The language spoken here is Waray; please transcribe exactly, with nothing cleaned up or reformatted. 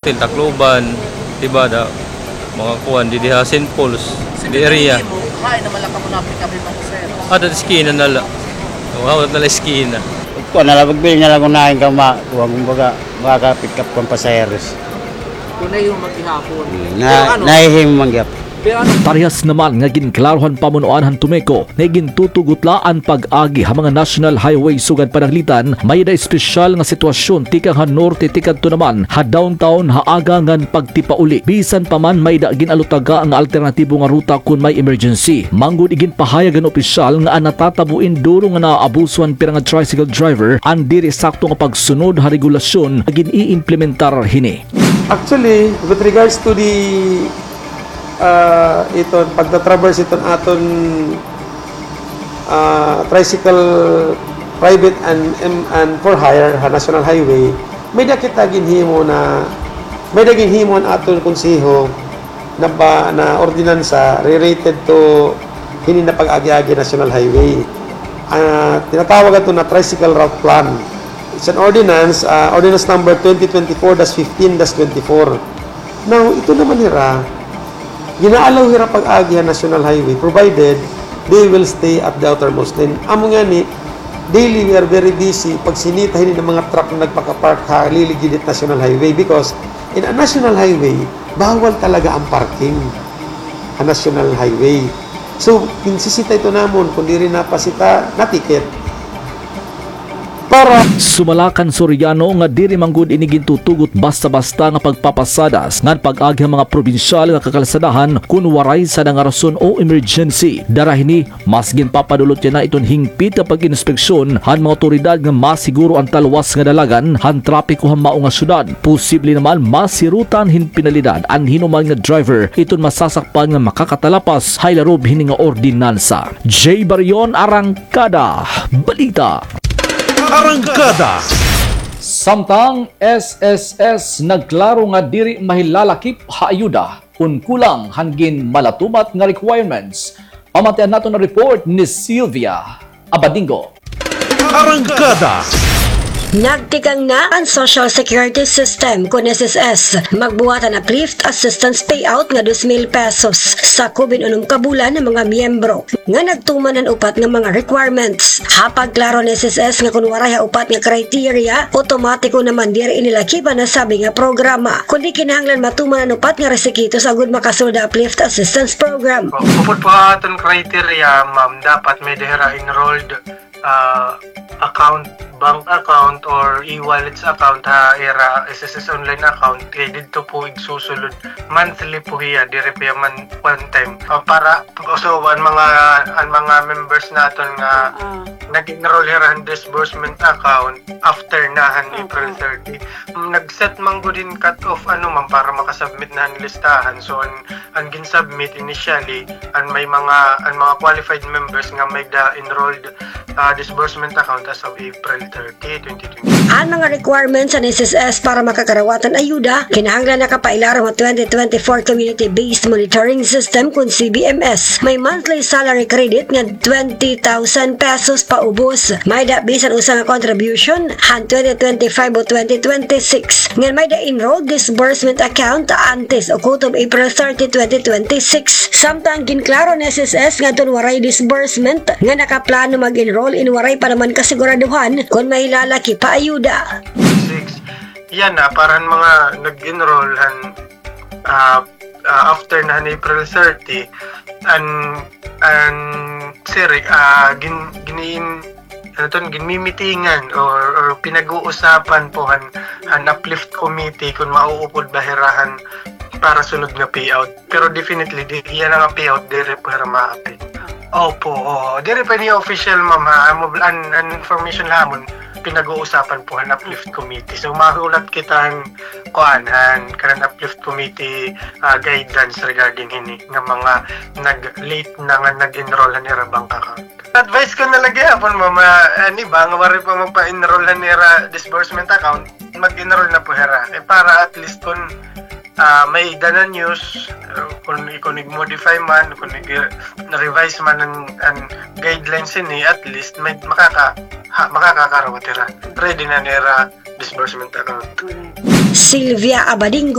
Tacloban, di ba, da, mga kuan, didi ha Saint Paul's, di area. Hain naman la kamo na-pick up hin mga pasahero? Ada eskina na la. O, hawat na la eskina. Kuan na la, magbilin na la kun hain ka ma-, kuan, kumbaga, makaka-pick up kan pasaheros. Kun nahimo man gihapon. Hmm, na, nahimo man gihapon. Parehas naman nga ginklaro han pamunuan han TMECO nga igintutugot la an pag-agi ha mga national highway sugad pananglitan may-ada espesyal nga sitwasyon tikang ha norte tikadto naman ha downtown ha aga ngan pagtipauli. Bisan pa man may-ada ginalutaga nga alternatibo nga ruta kon may emergency. Manggod iginpahayag han opisyal nga an natatabo in duro nga naaabuso han pira nga tricycle driver an diri sakto nga pagsunod ha regulasyon nga gin-iimplementar hini. Actually, with regards to the, ah, iton pagta-traverse iton aton, ah, tricycle, private and, and, and for hire ha National Highway, may-ada kita ginhimo na, may-ada ginhimo an aton konseho na ba, na ordinansa related to hini na pag-agi-agi National Highway. Ah, tinatawag ato na tricycle route plan. It's an ordinance, ah, ordinance number twenty twenty-four dash fifteen dash twenty-four. Now, ito naman hira, gina-allow hira pag-agi ha National Highway provided they will stay at the outermost lane. Amo ngani, daily we are very busy pagsinita hini nga mga truck nga nagpaka-park ha liligid hit National Highway because in a National Highway, bawal talaga an parking ha National Highway. So, ginsisita ito namon, kon diri napasita, na-ticket. Para sumala kan Soriano nga diri man gud ini gintutugot basta-basta nga pagpapasadas ngan pag-agi han mga probinsyal nga kakalsadahan kon waray sada nga rason o emergency. Dara hini, mas ginpapadulot yana iton hingpit nga pag-inspeksyon han mga awtoridad nga masiguro an talwas nga dalagan han trapiko han mao nga syudad. Posible naman masirutan hin penalidad an hin-o man nga driver iton masasakpan nga makakatalapas ha ilarob hini nga ordinansa. Jay Barion, Arang kada balita. Arangkada. Samtang S S S nagklaro nga diri mahilalakip ha ayuda kon kulang han ginmalatumat nga requirements. Pamatian naton an report ni Sylvia Abadingo. Arangkada. Nagtikang na an Social Security System kon S S S. Magbuhat an uplift assistance payout nga dos mil pesos sa kubin unom ka bulan nga mga miyembro nga nagtuman han upat nga mga requirements. Ha pagklaro han S S S nga kon waray ha upat nga criteria, otomatiko naman diri ini lakip an nasabi nga programa, kundi kinahanglan matuman an upat nga requisitos agod makasulod ha Uplift Assistance Program. Upod po ha aton criteria, ma'am, dapat may-ada hira enrolled ah, account, bank account or e-wallets account ha ira S S S online account, kay didto po igsusulod. Monthly po hiya, diri po hiya man one time. Ah, para, so, an mga, an mga members naton nga nag-enroll hira han disbursement account after na han April thirty. Mm, nag-set man gud hin cut-off, ano, ma'am, para makasubmit na han listahan. So, an, an gin-submit initially, an may mga, an mga qualified members nga may-ada enrolled ah, disbursement account as of April thirty, twenty twenty. An mga requirements han S S S para makakarawat han ayuda, kinahanglan nakapailarom ha twenty twenty-four Community-Based Monitoring System kon C B M S. May monthly salary credit nga twenty thousand pesos paubos. May-ada bisan usa nga contribution han twenty twenty-five o twenty twenty-six. Ngan may-ada enrolled disbursement account antes o kutob April thirty, twenty twenty-six. Samtang ginklaro han S S S ngadton waray disbursement nga nakaplano mag-enroll in waray pa naman kasiguraduhan kon mahilalakip ha ayuda. Six. Yana, para han mga nag-enroll han, ah, ah, after na han April thirty, an, an, sir, ah, gin-, gin-, ano ton, ginmimitingan or, or pinag-uusapan po han, han uplift committee kon mauupod ba hira han para sunod nga payout. Pero definitely, di, yana nga payout, diri po hira maapil. Opo, oo. Diri pa ini official, ma'am, ha. Amo, an, an information la ha amon, pinag-uusapan po han uplift committee. So, mahulat kita han, kuan, han, kanan uplift committee, ah, guidance regarding hini, nga mga nag-late na nga nag-enroll han ira bank account. Advice ko na la gihapon, ma'am, ah, an iba nga waray pa magpa-enroll han ira disbursement account, mag-enroll na po hira. Eh, para at least kon, ah, may-ada na news, ah, kon, kon ig-modify man, kon ig-revise man an, an guidelines ini, at least may makaka-, ha, makakakarawat hira. Ready na nira disbursement account. Correct. Sylvia Abading